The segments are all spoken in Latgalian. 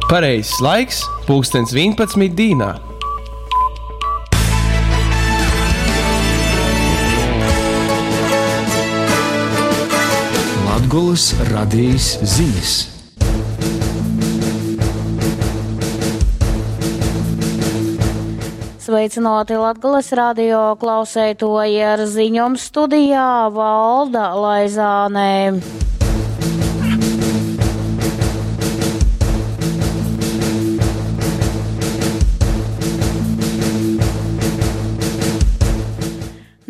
Pareizais laiks - pulkstens 11 dīnā. Latgolys radejis zinis. Sveicināti Latgales radio klauseitoji ar ziņom studijā Valda Laizānē.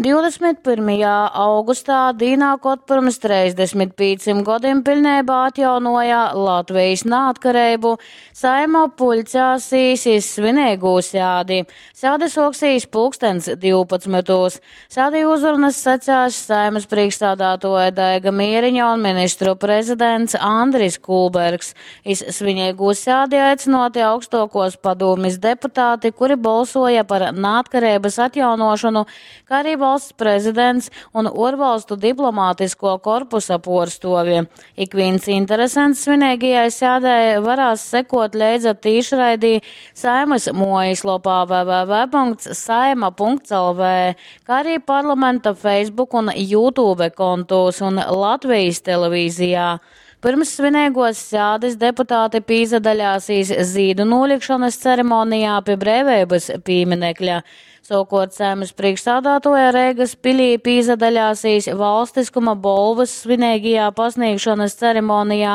21. augustā, dīnā, kod pirms 35 gadiem pilnībā atjaunoja Latvijas neatkarību, Saeima puļcēsīs iz svinīgū sēdi. Sēde soksīs pulkstens 12. Sēdī uzrunas sacās Saeimas priekšstādātoja Daiga Mieriņa un ministru prezidents Andris Kulbergs. Iz svinīgū sēdi aicināti augstokos padomis deputāti, kuri balsoja par neatkarības atjaunošanu, kā arī valsts prezidents un uorvalstu diplomātisko korpusa puorstuovi. Ikvīns interesants svinīgajai sēdē varās sekot leidza tīšraidī Saeimas muojaslopā www.saeima.lv, kā arī parlamenta Facebook un YouTube kontos un Latvijas televīzijā. Pirms svinīgos sēdes deputāti pīzadaļāsīs zīdu nolikšanas ceremonijā pie Brīvības pieminekļa. Savukārt Saeimas priekšsādātoja Reigas pilī pīzadaļāsīs valstiskuma bolvas svinīgajā pasniegšanas ceremonijā,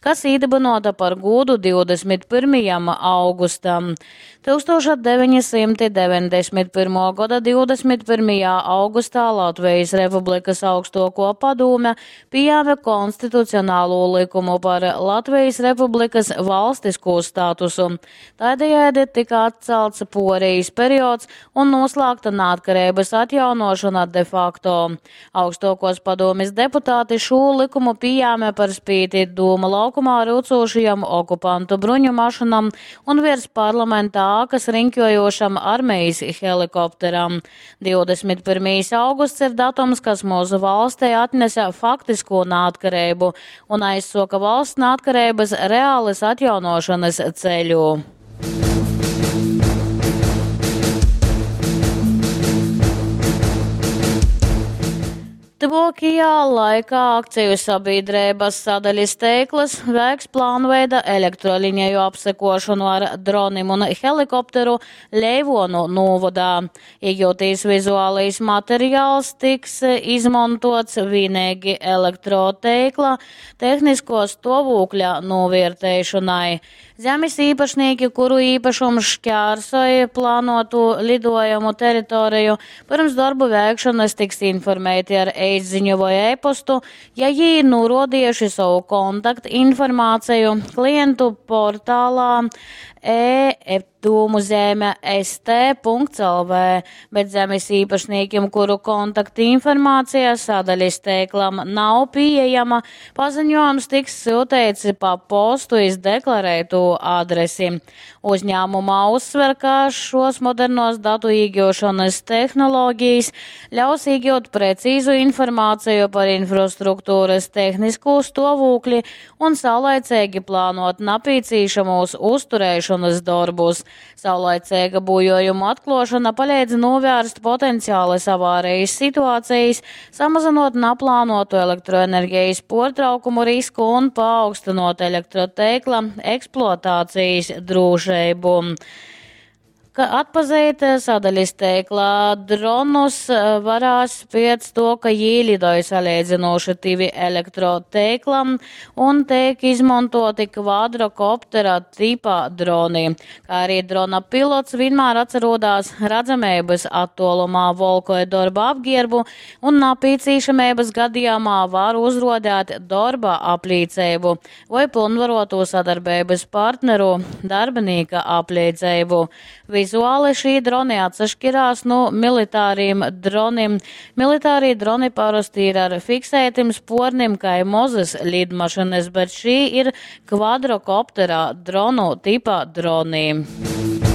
kas īdibinota par gūdu 21. augustam. 1991. gada 21. augustā Latvijas Republikas augstoko padome pieņēma konstitucionālo likumu par Latvijas Republikas valstisko statusu. Tādējādi tika atcelts porijas periods un noslēgta neatkarības atjaunošana de facto. Augstokos padomes deputāti šo likumu pieņēma par spīti Dūma laukumā rūcošajam okupantu bruņu mašinam un virs parlamenta ākas riņķojošam armijas helikopteram. 21. augusts ir datums, kas mūsu valstī atnesa faktisko neatkarību un aizsoka valsts neatkarības reālas atjaunošanas ceļu. Tuvākajā laikā akciju sabiedrības sadaļas teikls veiks plānveida elektroliņeju apsekošanu ar dronim un helikopteru Leivonu novadā. Iegūtīs vizuālais materiāls tiks izmantots vienīgi elektroteikla tehnisko stāvokļa novērtēšanai. Zemes īpašnieki, kuru īpašums šķērsoja plānotu lidojumu teritoriju, pirms darbu veikšanas tiks informēti ar e-ziņu vai e-postu, ja jī norodījuši savu kontaktinformāciju klientu portālā e-dūmu zeme st.lv, bet zemes īpašniekiem, kuru kontaktinformācija sadaļas teiklam nav pieejama, paziņojums tiks sūtīts pa postu iz deklarētu adresi. Uzņēmumā uzsver, ka šos modernos datu iegūšanas tehnoloģijas ļaus iegūt precīzu informāciju par infrastruktūras tehnisko stāvokli un saulaicīgi plānot nepieciešamos uzturēšanas darbus. Saulaicīga būjojumu atklāšana palīdz novērst potenciālas avārijas situācijas, samazinot neplānotu elektroenerģijas portraukumu risku un paaugstinot elektroteikla eksploatācijas drošību. Ka atpazīt sadaļas teiklā dronus varās pēc to, ka jī lidoja salīdzinoši tivi elektroteiklam un tiek izmantoti kvadrokoptera tipa droni. Kā arī drona pilots vienmēr atcerodās redzamības attuolumā volkoja darba apģērbu un nepieciešamības gadījumā var uzrodēt darba apliecību vai pilnvaroto sadarbības partneru darbinīka apliecību. Vizuāli šī droni atsašķirās no militāriem dronim. Militārie droni parasti ir ar fiksētiem spornim, kā mozas lidmašinas, bet šī ir kvadrokoptera dronu tipa droni.